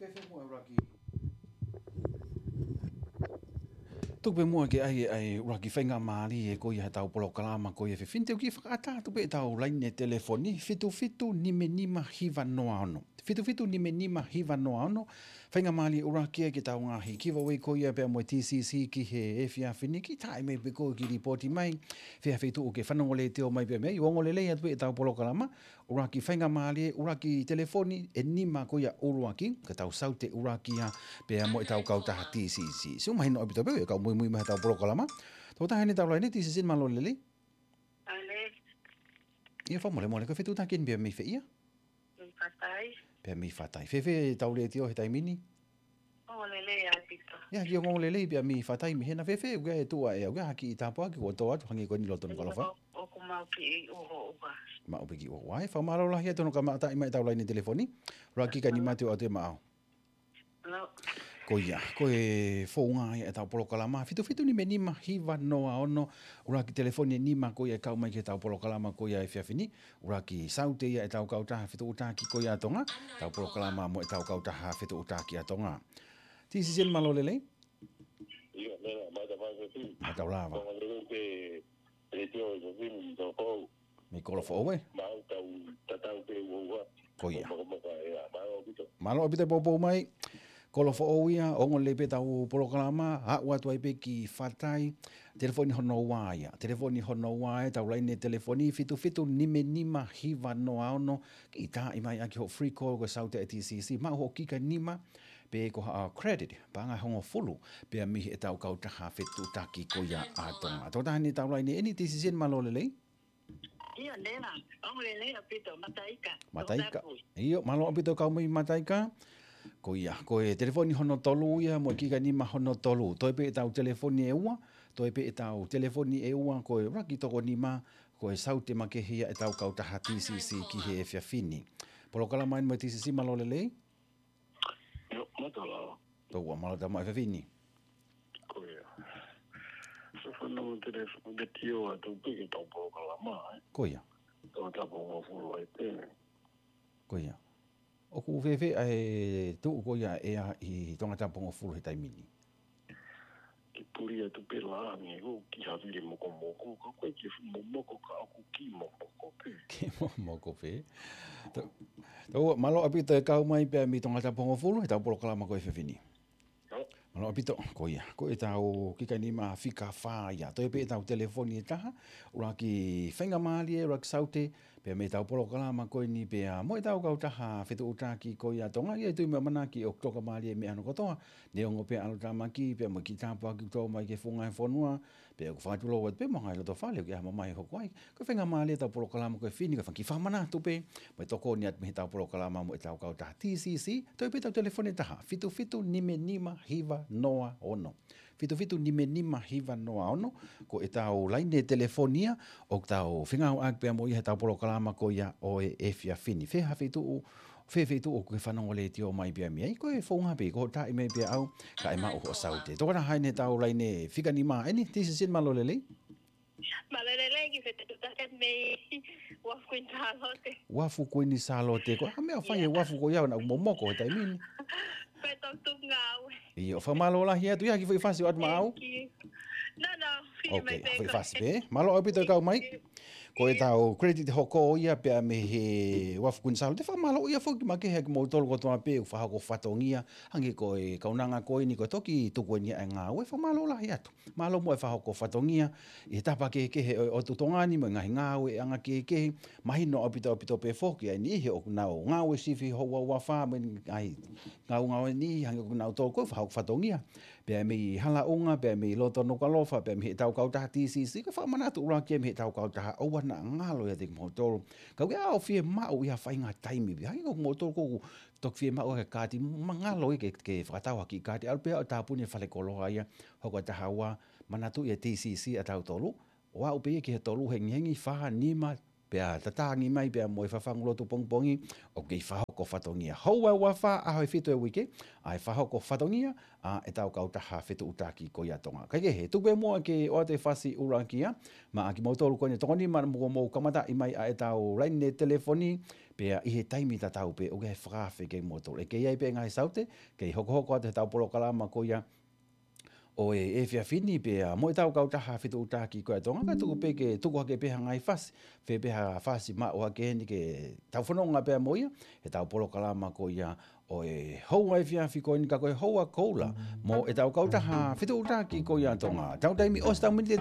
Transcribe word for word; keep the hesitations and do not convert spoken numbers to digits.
Tuku pē muʻa ke ʻai ʻa e ʻuluaki faingamālie ko ia ʻetau polokalama ko ia he efiafi ni, te u kiʻi fakaʻatā atu pē ʻetau laine telefoni, fitu fitu nima nima hiva noa ono. Fitu fitu nima nima hiva noa ono. Faingamālie ʻuluaki ia ki heʻetau ngaahi giveaway ko ia pea mo e T C C ki he efiafi ni, kiʻi tā mai pē koe, kiʻi lipooti mai fē ha feituʻu ke fanongo letiō mai pē mei ai. Ongoongolelei atu pē ʻetau polokalama, ʻuluaki faingamālie, ʻuluaki telefoni ʻe nima ko ia ʻuluaki, ko ʻetau Saute ʻuluaki ia pea mo ʻetau kautaha T C C. Sio, mahino ʻaupito pē ʻoku muimui mai heʻetau polokalama. Tokotaha ʻi heʻetau laine, T C C, mālō e lelei. Ale. ʻIo, fakamolemole, ko e fetuʻutaki eni pea mei fē ia? Mei Fatai. Pea mei Fatai. Fēfē ʻetau letiō he taimi ni? Ongoongolelei ʻaupito. ʻIo, kiʻi ongoongolelei pea mei Fatai mei hena. Fēfē, ʻoku ʻi ai e tuʻa ʻe, ʻoku ʻi ai ha kiʻi tāpuaki kuo tō atu, hangē ko eni lolotonga ʻo e ʻaho? ʻOku maʻu kiʻi uho ua. Maʻu pē kiʻi uho ua. ʻAi, fakamālō lahi atu hono kamataʻi mai ʻetau laine telefoni. ʻUluaki, ʻikai ke nau mate ʻo ʻoatu e maʻau. Hello. Ko ia, ko e founga ia ʻetau polokalama, fitu fitu nima nima hiva noa ono, ʻuluaki telefoni ʻe nima ko ia ʻe kau mai ki heʻetau polokalama ko ia he efiafi ni, ʻuluaki Saute ia ʻetau kautaha fetuʻutaki ko ia ʻa Tonga, ʻetau polokalama mo ʻetau kautaha fetuʻutaki ʻa Tonga. T C C, mālō e lelei. ʻIo, mea, mata fai ko ti. Mātau lava. Ongoongolelei pē, letiō ʻi he efiafi ni, tō kou. Mei Kolofoʻou, ē? Maʻu, tau tatau pē ua ua. Ko ia. Mokomoka, ʻia, mālō ʻaupito. Mālō ʻaupito e poupou mai. Kolofoʻou ia, ongoongolelei pē ʻetau polokalama, aʻu atu ai pē ki Fatai, telefoni hono ua ia. Telefoni hono ua ia, ʻetau laine telefoni, fitu fitu nima nima hiva noa ono, kiʻi tā mai ʻaki hoʻo free call ko e Saute ʻa e T C C, maʻu hoʻo kika nima, pe ko ha credit, paʻanga ʻe hongofulu, pea mei heʻetau kautaha fetuʻutaki ko ia ʻa Tonga. Tokotaha eni ʻetau laine eni, T C C, mālō e lelei. ʻIo, Nela, ongoongolelei ʻaupito, Mataika. Mataika. Tō tapu. ʻIo, mālō ʻaupito e kau mai Mataika. Ko ia, ko e telefoni hono tolu ia, mo e kika nima hono tolu. Toe pē ʻetau telefoni ʻe ua, toe pē ʻetau telefoni ʻe ua, ko e ʻuluaki toko nima, ko e Saute makehe ia ʻetau kautaha T C C ki he efiafi ni. Polokalama eni mo e T C C, mālō e lelei. ʻIo, mātau lava. Tō ua, mālō e tau maʻu e efiafi ni. Ko ia. Sio, fanongo telefoni, letiō atu pē ki heʻetau polokalama, ē? Ko ia. Tongatapu hongofulu ai pē. Ko ia. ʻOku fēfē ʻa e tuʻu ko ia ʻa e ʻea ʻi Tongatapu hongofulu he taimi ni? Kiʻi puli atu pē lā, hangē ko e kiʻi havili mokomoko, ka ko e kiʻi momoko ka ʻoku kiʻi momoko pē. Kiʻi momoko pē. Tō, tō ua, mālō ʻaupito e kau mai pea mei Tongatapu hongofulu heʻetau polokalama ko e efiafi ni. Mālō ʻaupito, ko ia. Ko ʻetau kika nima fika fā ia. Toe pē ʻetau telefoni ʻe taha, ʻuluaki faingamālie, ʻuluaki Saute, pea mei heʻetau polokalama ko eni pea mo ʻetau kautaha fetuʻutaki ko ia ʻa Tonga, ʻoku ou tui mo ʻamanaki ʻoku tokamālie e meʻa hono kotoa, neongo pē ʻalotāmaki, pea mo e kiʻi tāpuaki ʻoku tō mai ki he funga e fonua, pea ʻoku fakatulou atu pē mo e ngaahi lotofale ʻoku ʻi ai ha mamahi ʻe hoko ai. Ko e faingamālie ʻetau polokalama ko e efiafi ni, kae fai kiʻi fakamanatu pē, mo e tokoni atu mei heʻetau polokalama mo ʻetau kautaha T C C, toe pē ʻetau telefoni ʻe taha, fitu fitu nima nima hiva noa ono. Fitu fitu nima nima hiva noa ono, ko ʻetau laine telefoni ia, ʻoku tau fengāueʻaki pea mo ia heʻetau polokalama ko ia ʻo e efiafi ni. Fē ha feituʻu, fē feituʻu ʻoku ke fanongo letiō mai pea mei ai, ko e founga pē, ko hoʻo tā mai pē ʻe au, kae maʻu hoʻo Saute. Tokotaha eni ʻetau laine fika nima eni, T C C, mālō e lelei. Mālō e lelei, kiʻi fetuʻutaki mei Uafu Kuini Sālote. Uafu Kuini Sālote, ko e hā e meʻa ʻoku fai ʻe he uafu ko ia ʻoku nau momoko he taimi ni? Pea tau tuku ngāue. ʻIo, fakamālō lahi atu, ʻi ai ha kiʻi foʻi fasi ʻoku ʻoatu maʻau? Thank you. No, no, fili mai pē ko e foʻi fasi pē. Mālō ʻaupito e kau mai. Ko ʻetau credit hoko ia pea mei he Uafu Kuini Sālote, fakamālō ia foki makehe ʻa kimoutolu kotoa pē ʻoku fakahoko fatongia, hangē ko e kaunanga ko eni ko e toki tuku eni ʻa e ngāue, fakamālō lahi atu. Mālō muʻa e fakahoko fatongia ʻi he tapa kehekehe ʻo, ʻo e ʻotu Tonga ni mo e ngaahi ngāueʻanga kehekehe. Mahino ʻaupito ʻaupito pē foki ʻa e niʻihi ʻoku nau ngāue sivi houa ua fā mo e ngaahi ngāue ngāue niʻihi hangē ko kinautolu ko e fakahoko fatongia. Pea mei Halaʻunga, pea mei loto Nukuʻalofa, pea mei heʻetau kautaha T C C, ko e fakamanatu ʻuluaki ia mei heʻetau kautaha ʻoua naʻa ngalo ʻiate kimoutolu. Ka ʻoku ʻi ai ʻa e fiemaʻu ʻi ha faʻahinga taimi pē. Hangē ko kimoutolu ʻoku toki fiemaʻu e kaati, ma ngalo ia ke, ke fakatau ha kiʻi kaati, ʻalu pē ʻo tāpuni e falekoloa ia, hoko ʻa e taha ua, manatuʻi e T C C ʻa tautolu, ʻo aʻu pē ia ki he tolu hengihengi, fā, nima, pea tatangi mai pea mo e fafangu lotu pongipongi, ʻoku kei fakahoko fatongia. Houa ʻe uafā, ʻaho ʻe fitu ʻo e uike, ʻa e fakahoko fatongia ʻa ʻetau kautaha fetuʻutaki ko ia ʻa Tonga. Kae kehe, tuku pē muʻa ke ʻoatu e fasi ʻuluaki ia maʻa kimoutolu ko eni ʻe toko nima, mou kamataʻi mai ʻa ʻetau laine telefoni, pea ʻi he taimi tatau pē ʻoku ʻi ai e fakaafe kiate kimoutolu. ʻE kei ʻi ai pē ngaahi saute kei hokohoko atu heʻetau polokalama ko ia ʻo e efiafi ni pea mo ʻetau kautaha fetuʻutaki ko ia ʻa Tonga, kae tuku pē ke tuku hake pē ha ngaahi fasi, fē pē ha fasi maʻu hake heni ke tau fononga pea mo ia heʻetau polokalama ko ia ʻo e houa efiafi ko eni, ka ko e houa koula mo ʻetau kautaha fetuʻutaki ko ia ʻa Tonga. Tau taimi ʻosi ʻetau miniti